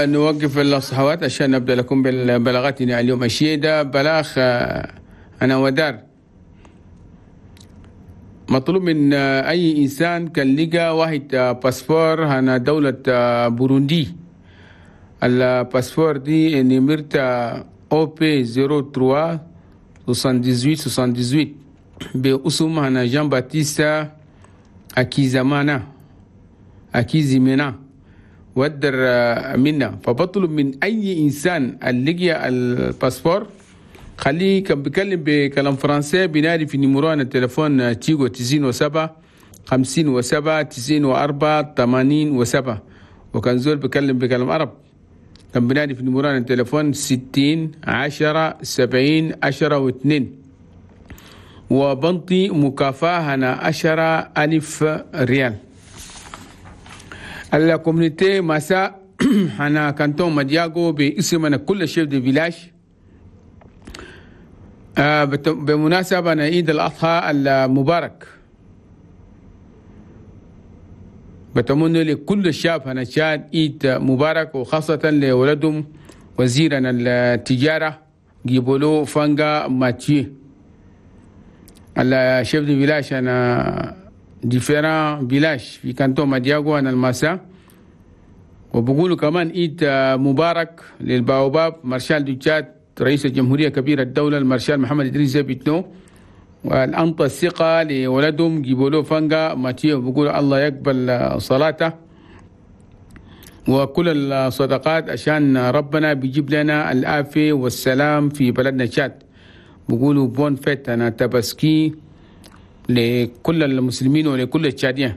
نوقف الصحوات عشان نبدأ لكم بالبلاغاتنا اليوم. الشيء ده بلاغ أنا ودار مطلوب من أي إنسان كان لقى واحد باسبور هنا دولة بوروندي. الباسبور دي نمرتا OP 03 78 78 باسم هنا جان باتيستا أكيزامانا أكيزيمينا ودر منا. فبطلب من أي إنسان اللي لقى الباسبور خليه كان بيكلم بكلام فرنسي بينادي في numéro هنا التليفون تيجو 97 57 94 87، وكان زول بيكلم بكلام عرب كان بينادي في numéro هنا التليفون 60 10 70 10 و2، وبنطي مكافأة هنا 10,000 ريال. ال communauté ماسا هنا canton مدياغو باسمنا كل chefs de village بمناسبة عيد الأضحى المبارك بتمنى لكل الشعب هنا تشاد عيد مبارك، وخاصة لولدهم وزيرنا التجارة جيبولو فانغا ماتيو. ال chefs de village هنا différents villages في canton مدياغو هنا الماسا. وبقولوا كمان عيد مبارك للباوباب maréchal du Tchad رئيس الجمهورية كبير الدولة المارشال محمد إدريس بيتنو، والأنطى الثقة لولدهم جيبولو فانغا ماتيو. بقولوا الله يقبل صلاته وكل الصدقات عشان ربنا بيجيب لنا العافية والسلام في بلدنا تشاد. بقولوا bonne fête هنا تبسكي لكل المسلمين ولكل التشاديين.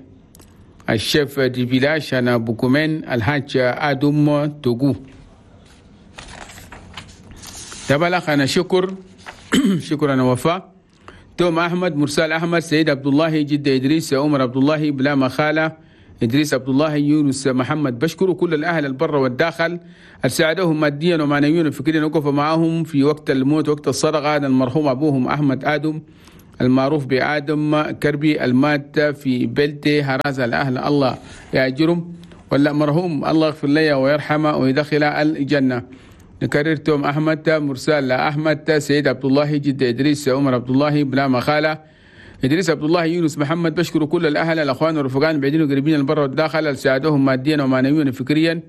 ال chef de village هنا بوكومين الحاج آدم توغو. تبلغ أنا شكر شكرا وفاء توم أحمد مرسال أحمد سيد عبد الله جدة إدريس عمر عبد الله بلا مخالة إدريس عبد الله يونس محمد. بشكر كل الأهل البر والداخل ساعدوهم ماديا ومعنويا وفكريا وقفوا معاهم في وقت الموت وقت الصدقة. المرحوم أبوهم أحمد آدم المعروف بآدم كربي المات في بلتي هرازة. الأهل الله يأجرهم، ولا مرحوم الله يغفر له ويرحمه ويدخل الجنة. نكرر توم أحمد مرسال أحمد سيد عبد الله جد إدريس عمر عبد الله بلا مخالة إدريس عبد الله يونس محمد. بشكر كل الأهل الأخوان والرفقان البعيدين وقريبين البر والداخل ساعدوهم ماديا ومعنويا وفكريا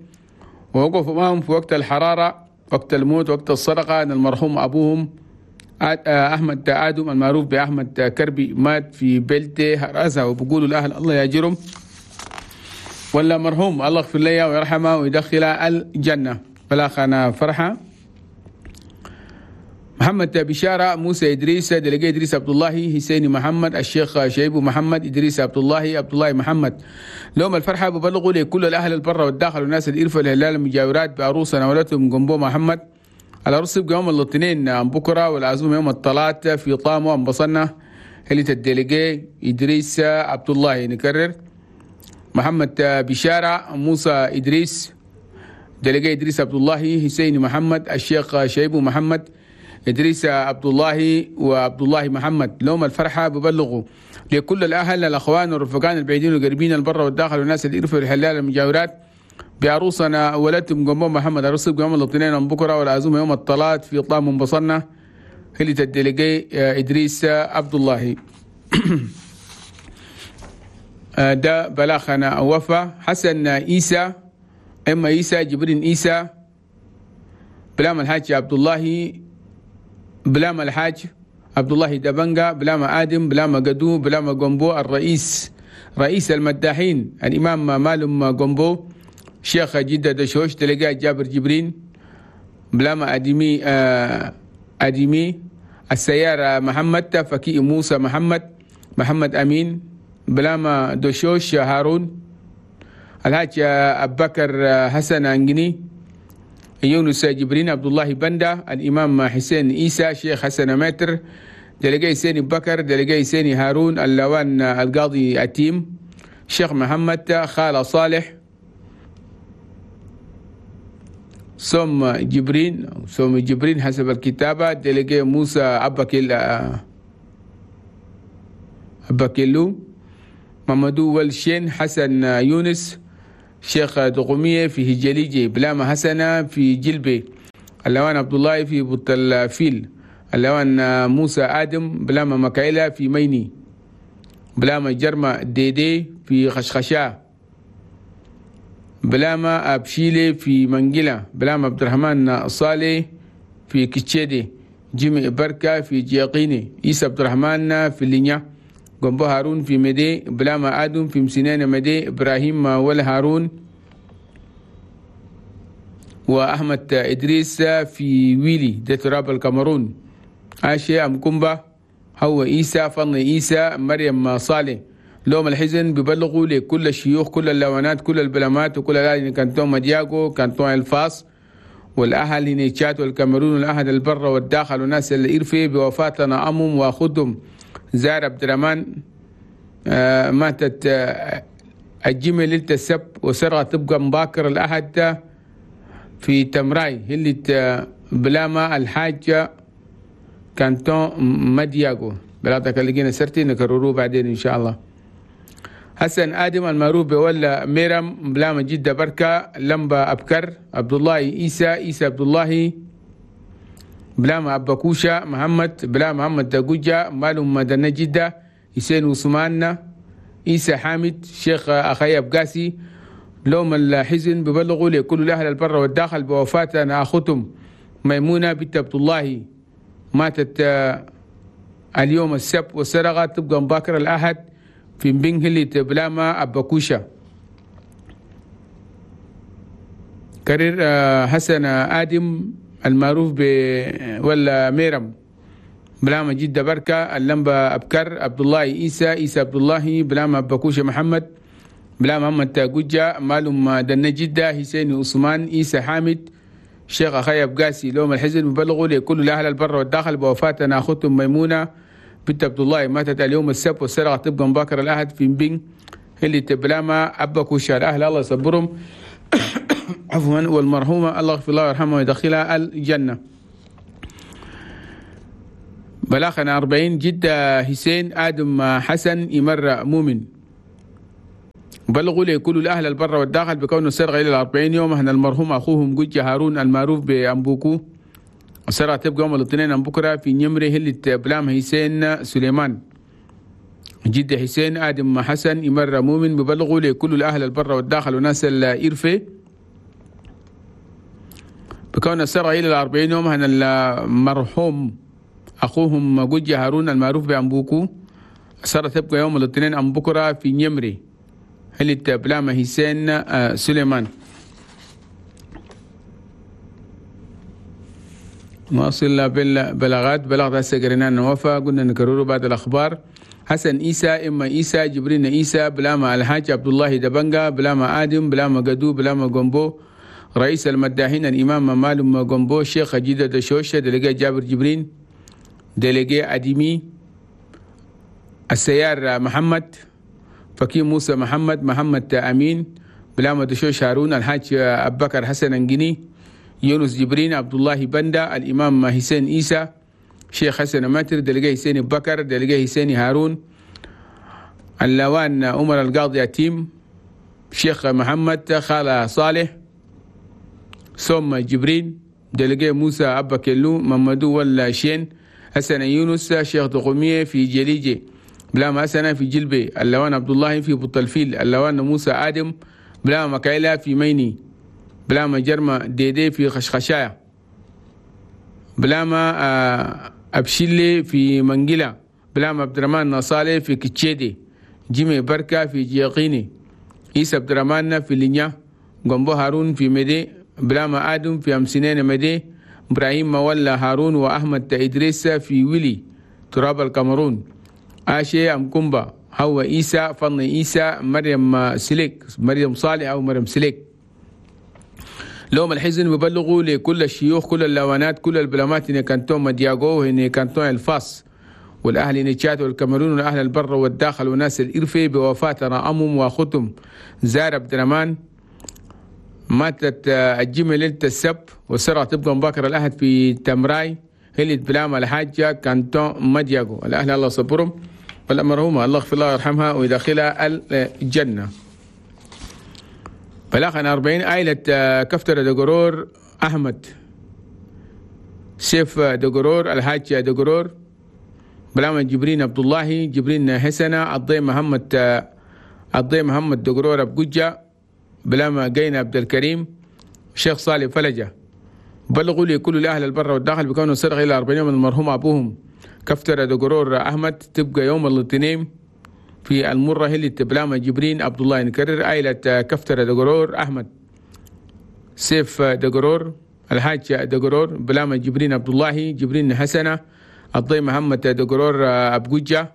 ووقفوا معهم في وقت الحرارة وقت الموت وقت الصدقة. المرحوم أبوهم أحمد آدم المعروف بأحمد كربي مات في بلتي هرازة، وبقولوا الأهل الله يأجرهم، ولا مرحوم الله يغفر له ويرحمه ويدخله الجنة. بلاخنا فرحة محمد بشارة موسى إدريس délégué إدريس عبد الله حسين محمد الشيخ شيبو محمد إدريس عبد الله عبد الله محمد. لهم الفرحة ببلغوا لكل الأهل البر والداخل والناس الإرفة الهلال المجاورات بعروسنا ولدهم جنبو محمد. العروس يبقى يوم الاثنين عن بكرة والعزومة يوم الثلاث في طامو انبصنا هلة ال délégué إدريس عبد الله. نكرر محمد بشارة موسى إدريس délégué إدريس عبد الله حسين محمد الشيخ شيبو محمد إدريس عبد الله وعبد الله محمد. لهم الفرحة ببلغوا لكل الأهل الأخوان والرفقان البعيدين والقريبين البر والداخل والناس الإرفة والحلال المجاورات بعروسنا ولدتم جنبهم محمد. عروس يوم الاثنين يوم بكرة والعزومة يوم الثلاث في طام انبصرنا هلة ال délégué إدريس عبد الله. ده بلاغنا وفا حسن عيسى إما عيسى جبرين عيسى بلام الحاج عبد الله بلام الحاج عبد الله دبنجا بلام آدم بلام قدو بلام جنبو الرئيس رئيس المداحين الإمام مالم جنبو شيخ جدة دشوش délégué جابر جبرين بلام أدمي أدمي السيارة محمد فكي موسى محمد محمد أمين بلام دشوش هارون الحاج أبو بكر حسن أنجني يونس جبرين عبد الله بندا الإمام حسين عيسى شيخ حسن ماتر délégué سيني بكر délégué سيني هارون اللوان القاضي أتيم شيخ محمد خالة صالح سوم جبرين سوم جبرين حسب الكتابة délégué موسى أباكيلو مامدو والشين حسن يونس شيخ دقومية في هجليجي، بلاما حسنة في جلبي، اللوان عبد الله في بطل فيل، اللوان موسى آدم بلاما مكايلة في ميني، بلاما جرمة ديدي في خشخشة، بلاما أبشيلي في منجلة، بلاما عبد الرحمن صالح في كتشيدي، جيمي بركة في جيقيني، عيسى عبد الرحمن في اللينيا، جنبو هارون في مدي، بلاما آدم في مسنان مدي، إبراهيم ولا هارون، وأحمد إدريس في ويلي ده تراب الكاميرون، عاشي أمكومبا هو عيسى فن عيسى مريم صالح. لوم الحزن ببلغوا لكل الشيوخ، كل اللوانات، كل البلامات، وكل الأهل كانتون مدياغو، كانتون الفاس، والأهل هنا تشاد والكاميرون، والأهل البر والداخل، والناس اللي إرفي بوفاتنا أمهم وأخوتهم زار عبد الرحمن. ماتت الجمل ليلة السبت وسرعة تبقى مباكر الأحد في تمراي اللي بلاما الحاجة كانتون مدياغو. بلاتك اللي جينا سرتي نكرروه بعدين إن شاء الله. حسن آدم المعروف بولا ميرم بلاما جدة بركة لمبا أبكر عبد الله عيسى عيسى عبد الله بلاما أباكوشا محمد بلاما محمد دقوجة مالهم مدنة جدة حسين عثمان عيسى حامد شيخ أخي أبقاسي. لوم الحزن ببلغوا لكل الأهل البر والداخل بوفاة أخوتهم ميمونة بنت عبد الله، ماتت اليوم السبت والسرقة تبقى مباكر الأحد في بنهلة بلاما أباكوشا. كرير حسن آدم المعروف ب ولا ميرم بلاما جدة بركة اللمبة أبكر عبد الله عيسى عيسى عبد الله بلاما أباكوشا محمد بلاما محمد تاجوجا مالهم دنا جدة حسين عثمان عيسى حامد شيخ أخي أبقاسي. لوم الحزن مبلغوا لكل الأهل البر والداخل بوفاة أختهم ميمونة بنت عبد الله، ماتت اليوم السبت والسرقة تبقى مباكر الأحد في مبين اللي تبلاما أباكوشا. الأهل الله يصبرهم عفوا، والمرحومة الله يغفر لها ويرحمها ويدخلها الجنة. بلاغنا 40 جدة حسين آدم حسن يمر مؤمن. بلغوا لكل الأهل البر والداخل بكون السرقة إلى 40 يوم أن المرحوم أخوهم جوجة هارون المعروف بأمبوكو. السرقة تبقى يوم الاثنين أم بكرة في نمره هلة بلام حسين سليمان. جدة حسين آدم حسن يمر مؤمن ببلغوا لكل الأهل البر والداخل وناس الإرفة بكون السرقة إلى 40 يوم أن المرحوم أخوهم جوجة هارون المعروف بأمبوكو. السرقة تبقى يوم الاثنين أم بكرة في نمره هلة بلام حسين سليمان. نواصل بالبلاغات. بلاغ هسه قرينا نوفا قلنا نكرره بعد الأخبار. حسن عيسى إما عيسى جبرين عيسى بلاما الحاج عبد الله دبنجا بلاما آدم بلاما قدو بلاما جنبو رئيس المداحين الإمام مالم جنبو شيخ جدة دشوشة دلقي جابر جبرين دلقي أديمي السيار محمد فكي موسى محمد محمد أمين بلاما دشوش هارون الحاج أبو بكر حسن انجني يونس جبرين عبد الله بندا الإمام حسين عيسى شيخ حسن ماتر دلقي حسين بكر دلقي حسين هارون اللوان عمر القاضي يتيم شيخ محمد خالة صالح ثم جبرين دلقي موسى أبا كيلو ممدو ولا شين حسن يونس شيخ دقومية في جليجي بلاما حسن في جلبي اللوان عبد الله في بطلفيل اللوان موسى آدم بلاما مكايلة في ميني بلاما جرمة ديدي في خشخشايا بلاما أبشيلي في منجلة بلاما عبد الرحمن نصالي في كتشيدي جيمي بركة في جيقيني عيسى عبد الرحمن في لينيا جنبو هارون في مدي بلاما آدم في أمسنين مدي إبراهيم مولى هارون وأحمد إدريس في ويلي تراب الكاميرون آشي أمكومبا هو عيسى فن عيسى مريم سليك مريم صالح أو مريم سليك. لوم الحزن ببلغوا لكل الشيوخ كل اللوانات كل البلامات إن كانتون مدياغو إن كانتون الفاس والأهل نيتشات والكاميرون والأهل البر والداخل وناس الإرفي بوفاة أمهم وأخوتهم زار عبد الرحمن. ماتت الجمعة ليلة السبت والسرعة تبقى مباكر الأحد في تمراي هلت بلام الحاجة كانتون مدياغو. الأهل الله صبرهم والأمرهما الله يغفر لها ويرحمها ويدخلها الجنة. بلاغنا 40 عائلة كفترة دقرور أحمد سيف دقرور الحاج دقرور بلاما جبرين عبد الله جبرين حسنة الضي محمد دقرور أبقجة بلاما قينا عبد الكريم شيخ صالح فلجة. بلغوا لكل الأهل البر والداخل بكونه سرق إلى 40 يوم المرحوم أبوهم كفترة دقرور أحمد تبقى يوم الاثنين في المرة اللي بلاما جبرين عبد الله. نكرر عائلة كفترة دقرور أحمد سيف دقرور الحاج دقرور بلاما جبرين عبد الله جبرين حسنة الضي محمد دقرور أبقجة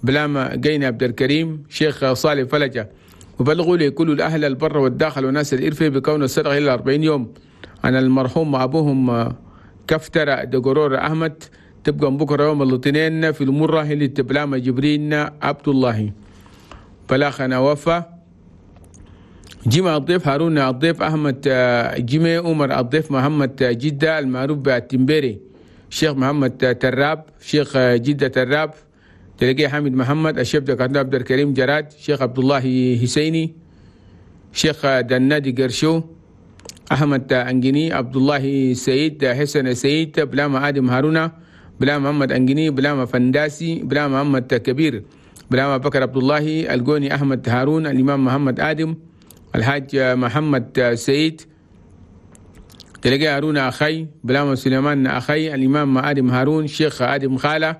بلاما قينا عبد الكريم شيخ صالح فلجة. وبلغوا لكل الأهل البر والداخل وناس الإرفة بكون السرقة إلى 40 يوم عن المرحوم أبوهم كفترة دقرور أحمد تبقى بكرة يوم الاثنين في المرة اللي تبلاما جبرين عبد الله. بلاخنا وفا جمع الضيف هارون الضيف أحمد جمع عمر الضيف محمد جدة المعروف بالتمبيري شيخ محمد تراب شيخ جدة تراب تلقي حامد محمد الشيخ دكتور عبد الكريم جراد شيخ عبد الله حسيني شيخ دنادي قرشو أحمد أنجني عبد الله سيد حسن سيد بلاما آدم هارونا بلا محمد أنجني بلاما فنداسي بلا محمد كبير بلاما بكر عبد الله الجوني أحمد هارون الإمام محمد آدم الحاج محمد سيد تلقي هارون أخي بلاما سليمان أخي الإمام آدم هارون شيخ آدم خالة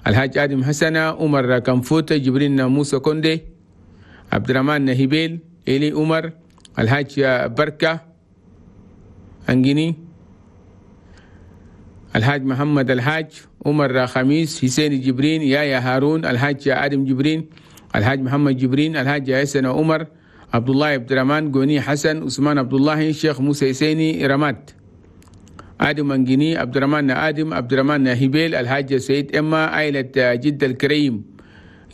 الحاج آدم حسنة عمر كنفوت جبرين موسى كوندي عبد الرحمن نهيبيل إلي عمر الحاج بركة أنجني الحاج محمد الحاج عمر خميس حسين جبرين يايا هارون الحاج آدم جبرين الحاج محمد جبرين الحاج حسن عمر عبد الله عبد الرحمن جوني حسن عثمان عبد الله شيخ موسى حسيني رمات آدم أنجني عبد الرحمن آدم عبد الرحمن هبيل الحاج سيد إما عائلة جدة الكريم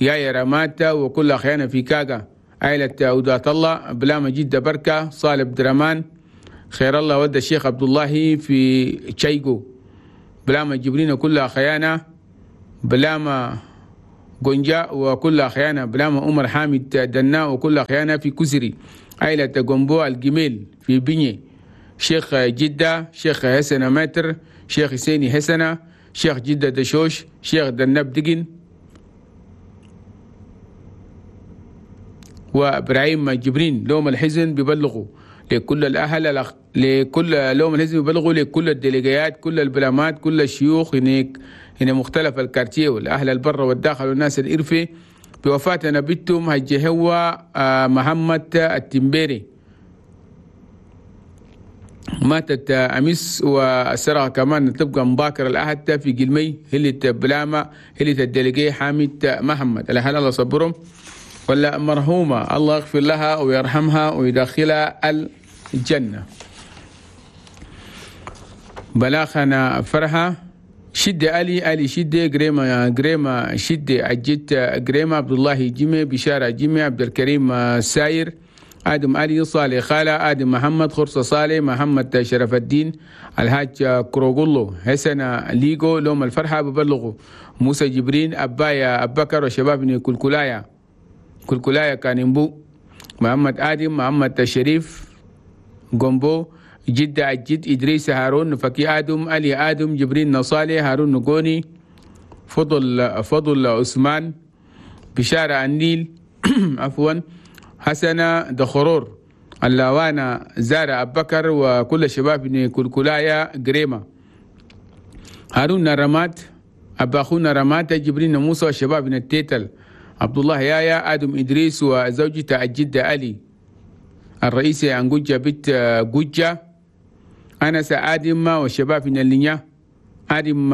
يايا رمات وكل أخيانا في كاغا عائلة أودات الله بلاما جدة بركة صالح عبد الرحمن خير الله ود الشيخ عبد الله في تشايغو بلاما جبرين كل أخيانا بلاما جونجا وكل أخيانا بلاما عمر حامد دنا وكل أخيانا في كسري عائلة جومبو الجميل في بني شيخ جدة شيخ حسن ماتر شيخ حسيني حسنة شيخ جدة دشوش شيخ دنب دقن وإبراهيم جبرين. لوم الحزن ببلغوا لكل الأهل لكل لوم الحزن ببلغوا لكل الديليجيات كل البلامات كل الشيوخ هناك هنا مختلف الكارتيه والأهل البر والداخل والناس الإرفي بوفاة نبيتهم هجهوة محمد التمبيري ماتت أمس والسرعة كمان تبقى مباكر الأحد في قلمي هلت بلامة هلت الدلقي حامد محمد. الأهل الله صبرهم ولا مرحومة الله يغفر لها ويرحمها ويدخلها الجنة. بلاخنا فرحة شدة علي علي شدة جريمة جريمة شدة أجت جريمة عبد الله جيمي بشارة جيمي عبد الكريم ساير آدم علي صالح خالة آدم محمد خرصة صالح محمد شرف الدين الحاج كروغولو حسن ليغو لوم الفرحة ببلغوا موسى جبرين أبايا أبكر وشباب كلكولايا كلكولايا كانمبو محمد آدم محمد شريف جومبو جدة الجد إدريس هارون فكي آدم علي آدم جبرين نصالي هارون نقوني فضل عثمان بشارة النيل عفوا حسنة دخرور اللوانا زارة أبكر وكل شباب كلكولايا جريمة هارون رمات أباخونا رمات جبرين موسى وشباب التيتل عبد الله يايا آدم إدريس وزوجته الجدة علي الرئيسي أنجوجة بنت جوجة أنس آدم والشباب من اللينيا آدم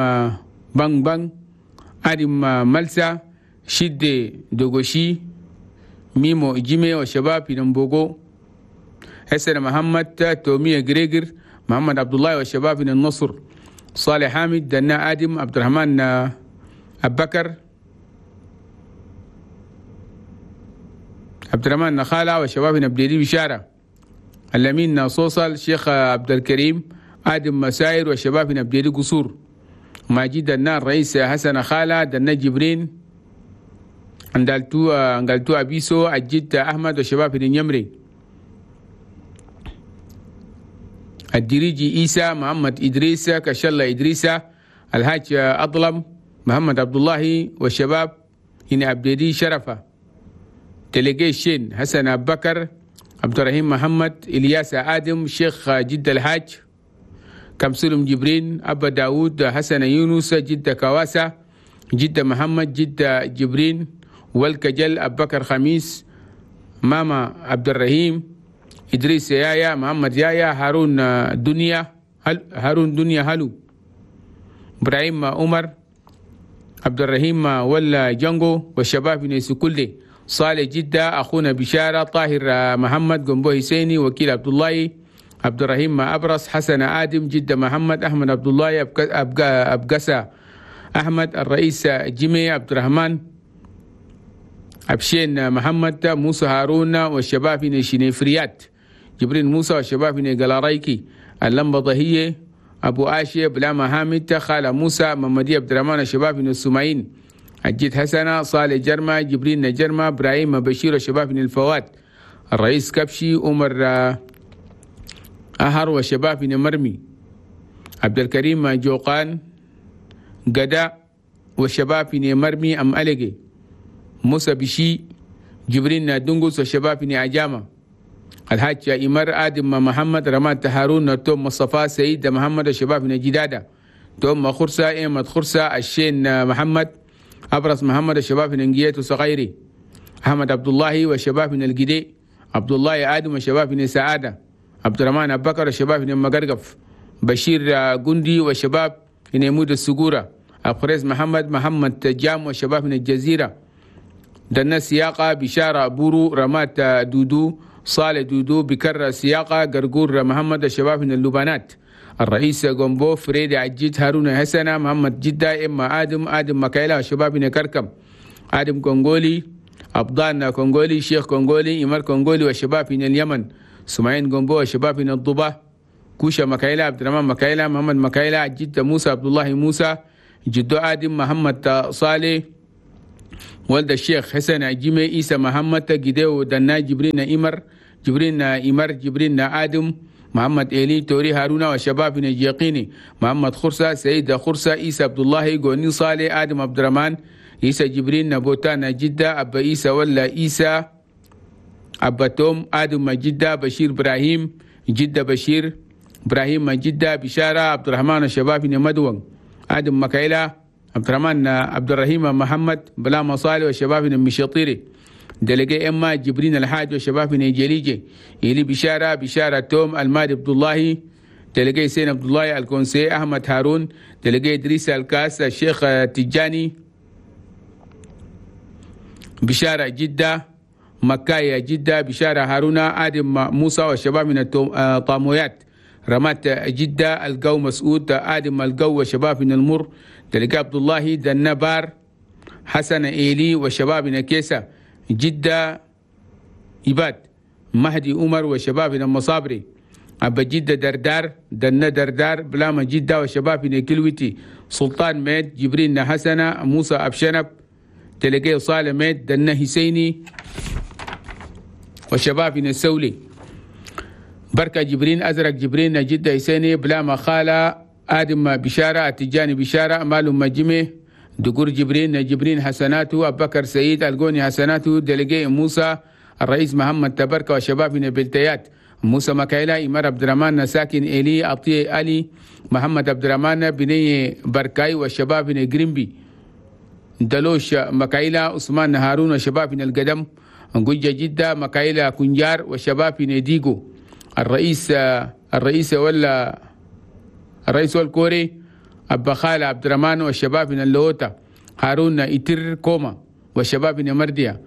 بان بان آدم ملسا شد دوغوشي ميمو جيمي والشباب من مبوغو حسن محمد تومية جريجر محمد عبد الله والشباب من النصر صالح حامد دنا آدم عبد الرحمن أبكر عبد الرحمن نخالة والشباب من بليدي بشارة الأمين صوصل شيخ عبد الكريم آدم مساير والشباب من بليدي قصور ماجد النار رئيس حسن خالة دنا جبرين اندالتو أبيسو الجد أحمد والشباب من يمري الدريجي إيسى، محمد إدريس، كشلة إدريس، الحاج أظلم، محمد عبد الله والشباب هنا عبددي شرفة، تلقي الشين، حسن أبو بكر، عبد الرحيم محمد، إلياس آدم، شيخ جد الحاج، كمسلم جبرين، أبا داود، حسن يونس، جد كواسة، جد محمد، جد جبرين، والكجل، أبو بكر خميس، ماما عبد الرحيم، إدريس يايا، محمد يايا، هارون دنيا، هارون دنيا هلو، إبراهيم عمر، عبد الرحيم ولا جانجو والشباب نيسو كله، صالح جدة، أخونا بشارة، طاهر محمد، جنبو حسيني، وكيل عبد الله، عبد الرحيم أبرص، حسن آدم، جدة محمد، أحمد عبد الله، أبقسة أحمد، الرئيس جيمي، عبد الرحمن أبشين محمد، موسى هارون والشباب شنيفريات، جبرين موسى والشباب قلارايكي، اللمبة ضهية، أبو آشي، بلاما حامد، خالة موسى، محمدي عبد الرحمن، الشباب السمعين، الجد حسنة، صالح جرمة، جبرين جرمة، إبراهيم بشير، الشباب الفواد، الرئيس كبشي، عمر أهر والشباب مرمي، عبد الكريم جوقان قدا والشباب مرمي أم ألقي، موسى بشي، جبرين دنقس والشباب عجامة، الحاج إمر آدم محمد، رماد هارون، توم مصطفى، سيد محمد، الشباب جدادة، توم خرسة، إيمد خرسة، الشين محمد، أبرز محمد، الشباب نجيت وصغيري، أحمد عبد الله والشباب من الجدي، عبد الله آدم والشباب من سعادة، عبد الرحمن أبو بكر والشباب من مقرقف، بشير جندي والشباب من يمود السجورة، أبخريز محمد، محمد جام والشباب من الجزيرة، دنا سياقة، بشارة بورو، رمات دودو، صالح دودو، بكر سياقة، قرقور محمد، الشباب من اللبنات، الرئيس جومبو، فريد عجيد، هارون حسنة، محمد جدة، إما آدم، آدم مكايلة، الشباب من كركم، آدم كونغولي، أبضان كونغولي، شيخ كونغولي، إمر كونغولي والشباب من اليمن، سمعين جومبو والشباب من الضبة، كوشة مكايلة، عبد الرحمن مكايلة، محمد مكايلة، جدة موسى، عبد الله موسى، جدو آدم، محمد صالح، ولد الشيخ حسن عجيمي، عيسى محمد، جديو دنا، جبرين إمر، جبرين إمر، جبرين آدم، محمد إيلي، توري هارون وشباب اليقيني، محمد خرسة، سيد خرسة، عيسى عبد الله، جوني صالح، آدم عبد الرحمن، عيسى جبرين، نبوتان جدة، أبا عيسى ولا عيسى، أبا توم، آدم جدة، بشير إبراهيم، جدة بشير إبراهيم جدة، بشارة عبد الرحمن، الشباب مدون، آدم مكايلة، عبد الرحمن عبد الرحيم محمد، بلا مصالح والشباب المشاطيري، دلقي إما جبرين الحاج والشباب جليجي، إلي بشارة، بشارة توم، المادي عبد الله، تلقي سين عبد الله، الكونسي أحمد هارون، تلقي إدريس الكاس، الشيخ تجاني، بشارة جدة، مكايا جدة، بشارة هارون، آدم موسى والشباب من الطامويات، رمات جدة، القو مسعود، آدم القو والشباب من المر، تلقى عبد الله دنبار، حسن إيلي والشباب من كيسة، جدة إباد، مهدي عمر وشباب من المصابري، أبا جدة دردار، دنا دردار، بلاما جدة وشباب من كلوتي، سلطان ميد، جبرين حسنة، موسى أبشنب، تلقي صالح ميد، دنا حسيني وشباب من السولي، بركة جبرين، أزرق جبرين، جدة حسيني، بلاما خالة، آدم بشارة، التجاني بشارة، مالو مجمي، دقور جبرين، جبرين حسناته، أبو بكر سعيد، القوني حسناته، دلقي موسى، الرئيس محمد تبركة وشباب من البلتيات، موسى مكايلة، إمار عبد الرحمن، ساكن إلي، أطي علي، محمد عبد الرحمن، بني بركاي والشباب من جريمبي، دلوش مكايلة، عثمان هارون وشباب من القدم، جوجة جدة، مكايلة كنجار وشباب من ديجو، الرئيس ولا الرئيس والكوري، أبا خالد عبد الرحمن والشباب من اللوطة، هارون إتر كوما والشباب من مرديا،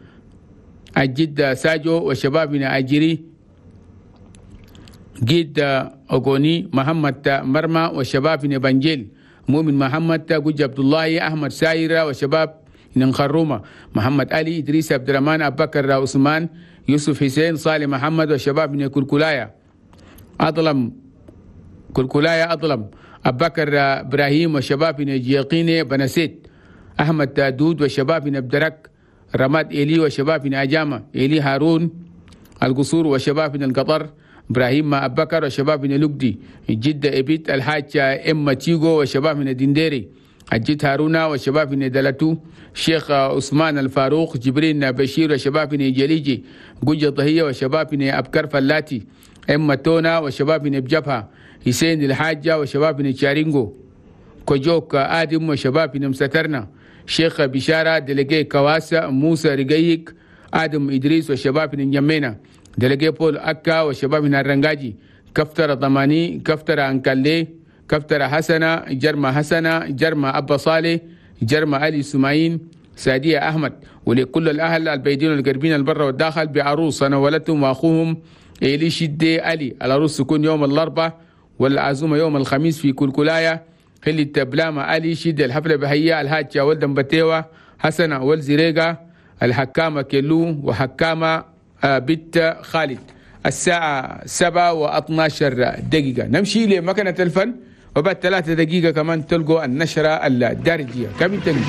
الجد ساجو والشباب من أجري، جد أغوني، محمد مرمى والشباب من بنجيل، مؤمن محمد، جوج عبد الله، أحمد سايرة والشباب من خرومة، محمد علي، إدريس عبد الرحمن، أبو بكر عثمان، يوسف حسين، صالح محمد والشباب من كلكولايا أظلم، كلكولايا أظلم، أبو بكر إبراهيم والشباب من جيقيني بنسيت، أحمد دود والشباب من بدرك، رماد إيلي والشباب من أجامة، إيلي هارون القصور والشباب من القطر، إبراهيم أبكر وشباب من لقدي، جدة إبيت الحاج إما تيغو وشباب من دنديري، الجد هارونا وشباب من دلتو، شيخ عثمان الفاروق، جبرين بشير وشباب من جليجي، جوجة ضهية وشباب من أبكر فلاتي، إما تونا وشباب من بجبهة، حسين الحاجة وشباب من شارينغو، كوجوك آدم وشباب من مسترنا، شيخ بشارة دلقي كواسا، موسى رقيق، آدم إدريس وشباب من جمينة، دلقي بول أكا وشباب من الرنجاجي، كفتر ضماني، كفتر أنكالي، كفتر حسنة، جرمة حسنة، جرمة أبا صالح، جرمة علي سماعين، سادية أحمد. ولكل الأهل البيدين والقربين البر والداخل بعروس أنا ولدتهم وأخوهم إيلي شدي علي. العروس تكون يوم الأربعاء والعزومة يوم الخميس في كلكلاية خلي التبلامة علي شدي. الحفلة بهية الهاجة ولدن بتيوة حسنة والزريقة الحكامة كيلو وحكامة بنت خالد. الساعة 7:12 نمشي لمكنة الفن، وبعد 3 دقيقة كمان تلقوا النشرة الدارجية. كم تنمي.